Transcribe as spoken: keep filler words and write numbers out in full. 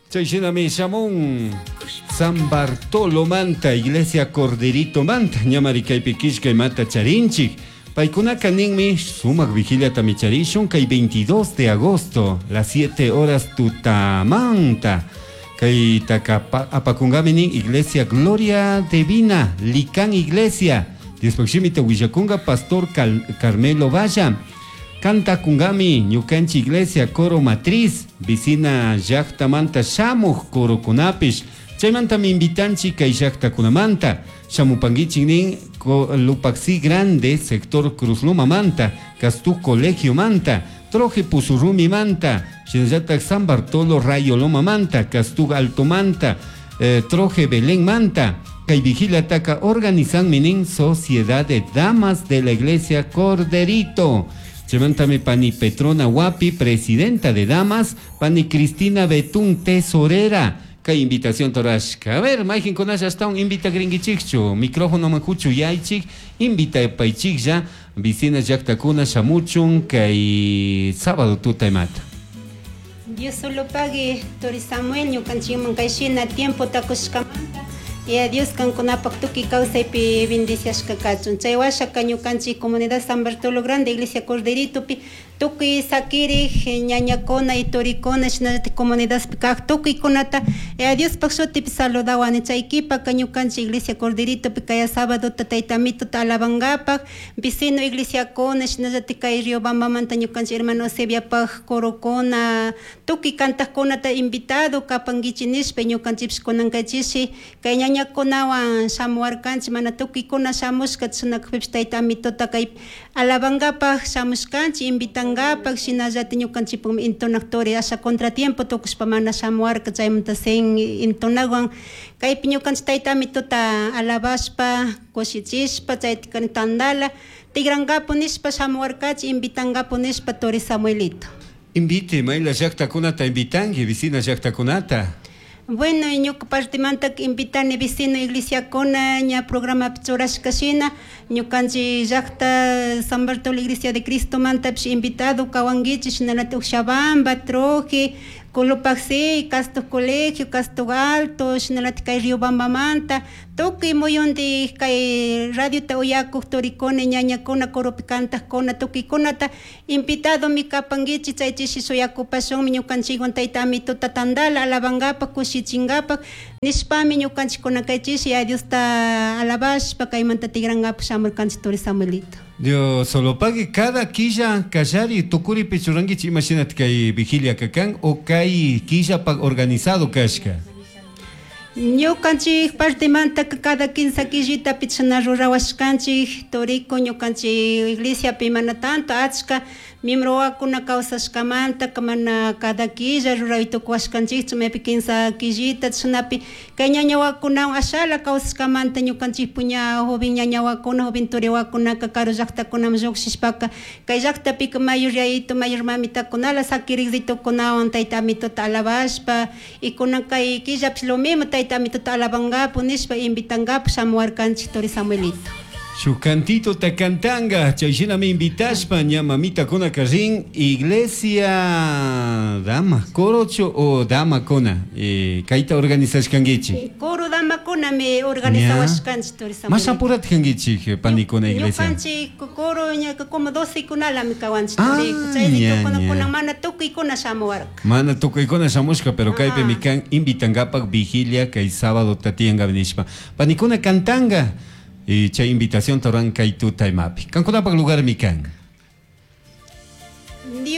Chay shinami shamun San Bartolo manta, Iglesia Corderito manta, ñamari kaypi killka imata charinchik. Paykunaka ninmi sumak vigiliata charishun kay veintidós de agosto, las siete horas tutamanta. Kay taka apakunkami nin Iglesia Gloria Divina, Licán Iglesia. Diospaj shimita willakunga Pastor Cal Carmelo Valla. Cantakungami ñukanchik Iglesia Coro Matriz, vicina llaktamanta shamuj corokunapish. Chaymantami invitanchik kay llaktakunamanta. Shamupankichik nin Lupaxi Grande, sector Cruz Loma manta, Castú Colegio manta, Troje Pusurrumi manta, shinallatak San Bartolo Rayo Loma manta, Castú Alto manta, eh, Troje Belén manta. Kay vigiliataka organizan nin Sociedad de Damas de la Iglesia Corderito. Chaymantami pani Petrona Guapi, presidenta de Damas, pani Cristina Betún, tesorera. Kay invitación torashka. A ver, mayqinkunalla ashtawan invita gringichikchu, micrófono makuchu yaychik, invita paychiklla, vicina llaktakuna shamuchun, kay sábado tuta imata. Dios solo pague, Tori Samuel, ñukanchikman kayshina tiempo takushkamanta. Yaya Dios kankunapak tukuy kawsaypi bendiciashka kachun. Chay washaka ñukanchik comunidad San Bartolo Grande, Iglesia Corderitopi, tukuy sakirik ñañakuna y turikuna shinallatik comunidadpi kak tukuykunata Yaya Diospaj shutipi saludawani. Chay kipaka ñukanchik Iglesia Corderitopi kaya sábado tayta Amituta alabankapak, vecino iglesiakuna shinallatik kay Riobambamanta ñukanchik hermano Eusebiopak corokuna, tukuy kantakkunata invitado kapankichik nishpa ñukanchikpish kunan kaychishi kay ñañakunawan shamuwarkanchik, mana tukuykuna shamushka chashnakakpipish tayta Amituta kay alabankapak shamushkanchik, invitankapak, shinallatik ñukanchikpukmi entonak turi asha contratiempo tukushpa mana shamuwarka, chaymanta sin entonawan kaypi ñukanchik tayta Amituta alabashpa kushichishpa chaytika tandala tigrankapu nishpa shamuwarkachik, invitankapu nishpa turi Samuelito. Invite, mayla llaktakunata invitanki, vicina llaktakunata. Bueno, ñuka partemanta invitani vecino iglesiakuna ña programapi churashka shina ñukanchik llakta San Bartolo Iglesia de Cristo mantapish invitado kawankichik, shinallatik Oxabamba, Troje, Colopaxi, Casto Colegio, Casto Alto, shinallatik kay Riobambamanta, tukuy muyuntik kay radiota uyakuk turikuna, ñañakuna, coropi kantakkuna, tukuykunata invitadomi kapankichik, chay chishi shuyakupashunmi ñukanchikwan tayta Amituta tandala alabankapak, kushichinkapak nishpami ñukanchikkuna kay chishi Yaya Diosta alabashpa kaymanta tigrankapak shamurkanchik turi Samuelito. Dios solo pague cada quilla kallari tukuripi churankichik imashinatik kay vigilia kakan o kay killapaq organizado kashka. Ñukanchik partemanta cada quince quillitapi chashna rurawashkanchik toriko ñukanchik iglesiapi mana tanto achka miembro wawakuna kawsashkamanta mana cada quilla ruray tukuwashkanchikchu, maypi quince quillita chashnapi kay ñaña wawakunawan ashala kawsashkamanta ñukanchik puña joven ñaña wawakuna, joven turi wawakunaka karu llaktakunaman llukshishpaka kay llaktapika mayor yayito, mayor mamitakunala sakirikritukunawan tayta Amituta alabashpa y kunan kay killapish lo mismo tayta Amituta alabankapu nishpa invitankapu shamuwarkanchik turi Samuelito. Shuk cantito ta cantanga, chay shinami invitashpa ña mamitakuna rin iglesia dama, corocho o dama kuna, eh, kayta organizashkankichik. Coro dama kunami organizawashkanchik turi Samuelito. Mas apurat kankichik panikuna iglesia. Ñukanchik coro ña como doce kunalami kawanchik Ah, turi. Chay ña, kuna ña. kuna mana tukuykuna shamuwarka. Mana tukuykuna shamushka, pero kaypi Ah. mi kan invitankapak vigilia kay sábado tatiyanka nishpa. Panikuna cantanga. Y chay invitación toran kay tuta imapi. Kankunapak lugar mi kan. Dios